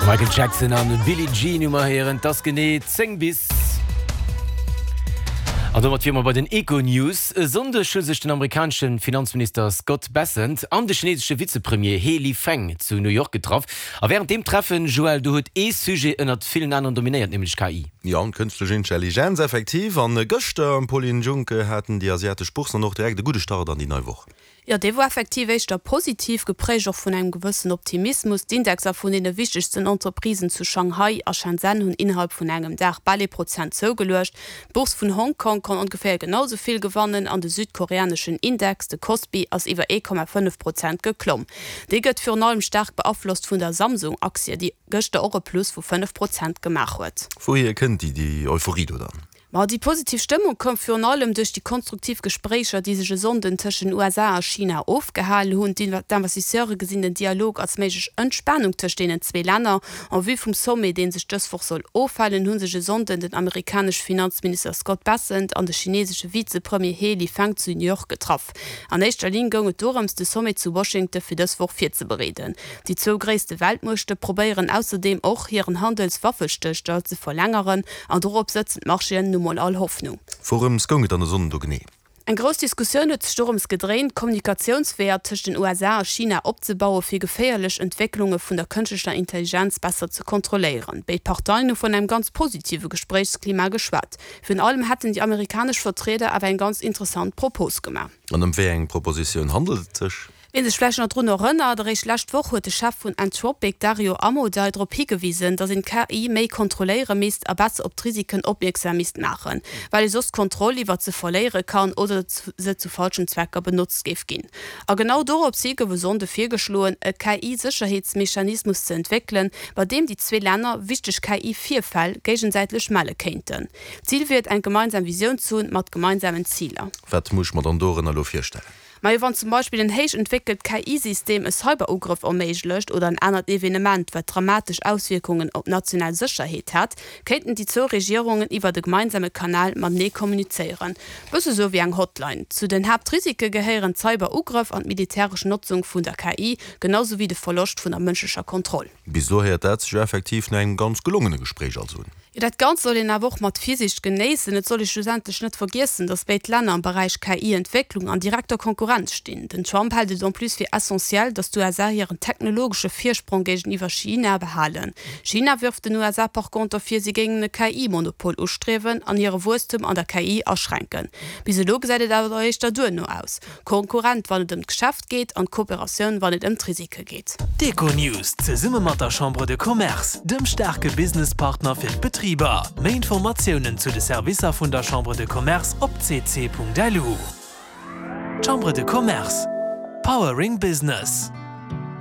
Michael Jackson an Billie Jean hu mer héieren. Et ass genee 10 bis. An domat wiere mer bei den Econews. E Sonndeg hu sech den amerikanesche Finanzminister Scott Bessent an de chinesesche Vizepremier He Lifeng zu New York getraff. A wärend deem Treffen, Joël, do huet ee Sujet ënnert villen aneren dominéiert, nämlech KI. Jo, d'kënschtlech Intelligenz, effektiv. An gëschter, Pauline Junck, haten déi asiatesch Bourssen dann och direkt e gudde Start an déi nei Woch. Jo, dee wor effektiv éischter positiv, geprägt och vun engem gewëssen Optimismus. D'Indexer vun deene wichtegsten Entreprisen zu Shanghai a Shenzhen hunn innerhalb vun engem Dag bal ee Prozent zougeluecht. D'Bourse vun Hong Kong konnt ongeféier genau sou vill gewannen an de südkoreaneschen Index, de Kospi, ass iwwer 1,5 Prozent geklomm. Dee gëtt virun allem staark beaflosst vun der Samsung-Aktie, déi gëschter och e Plus vu 5 Prozent gemaach huet. Wouhier kënnt déi Euphorie do dann? Ma déi positiv Stëmmung koum virun allem duerch déi konstruktiv Gespréicher, déi sech e Sonnden tëscht den USA a China ofgehalen hunn. D'Investisseure gesinn den Dialog als méiglech Entspanung tëscht deenen zwee Länner. En vue vum Sommet, dee sech dës Woch soll ofhalen, hu sech e Sonnden den amerikanesche Finanzminister Scott Bessent an de chinesesche Vizepremier He Lifeng zu New York getraff. An éischter Linn goung et dorëms, de Sommet zu Washington fir dës Woch virzebereeden. Déi zwou gréisste Weltmuechte probéieren ausserdeem och, hiren Handelswaffestëllstand ze verlängeren an dorop sëtzen d'Marchéen nu mol all Hoffnung. Wourëms goung et dann e Sonnden do genee? Eng grouss Diskussioun huet sech dorëms gedréint, Kommunikatiounsweeër tëscht den USA a China opzebauen, fir geféierlech Entwécklunge vun der kënschtlecher Intelligenz besser ze kontrolléieren. Béid Parteien hu vun engem ganz positive Gespréichsklima geschwat. Virun allem hätten déi amerikanesch Vertrieder awer eng ganz interessant Propos gemaach. An ëm wéi eng Propositioun handelt et sech? Wien sech vläicht nach drun erënnert, eréischt lescht Woch huet de Chef vun Anthropic, Dario Amodei, drop higewisen, datt een d'KI méi kontrolléiere misst a besser op d'Risiken opmierksam misst maachen, well ee soss d'Kontroll iwwert se verléiere kann oder se zu falschen Zwecker benotzt géif ginn. A genau dorops hi gouf e Sonnde virgeschloen, e KI-Sécherheetsmechanismus ze entwéckelen, bei deem déi zwee Länner wichteg KI-Virfäll géigesäitlech melle kéinten. Zil wier et, eng gemeinsam Visioun ze hunn, mat gemeinsamen Ziler. Wat muss ech mer dann dorënner elo virstellen? Majo, wann zum Beispill en héich entwéckelt KI-System e Cyberugrëff erméiglecht oder en anert Evenement, wat dramatesch Auswierkungen op d'national Sécherheet hätt, kéinten déi zwou Regierungen iwwert e gemeinsame Kanal matenee kommunizéieren. Bësse sou wéi eng Hotline. Zu den Haaptrisike gehéieren d'Cyberugrëff an d'militäresch Notzung vun der KI, genau sou wéi de Verloscht vun der mënschlecher Kontroll. Bis elo héiert dat sech jo effektiv no engem ganz gelongene Gespréich also un. Jo, dat Ganzt soll een awer och mat Virsiicht genéissen. Et soll ee schlussendlech net vergiessen, datt béid Länner am Beräich KI-Entwécklung an direkter Konkurrenz stinn. Den Trump hält et en plus fir essentiell, datt d'USA hiren technologesche Virsprong géigeniwwer China behalen. China wërft den USA par conter vir, si géingen e KI-Monopol ustriewen an hire Wuesstum an der KI aschränken. Bis elo gesäit et awer éischter duerno aus. Konkurrent wann et ëm d'Geschäft geet an d'Kooperatioun wann et ëm d'Risike geet. D'Econews zesumme mat der Chambre de Commerce, dem staarke Businesspartner fir d'Betriber. Méi Informatiounen zu de Servicer vun der Chambre de Commerce op cc.lu. Chambre de Commerce, Powering Business.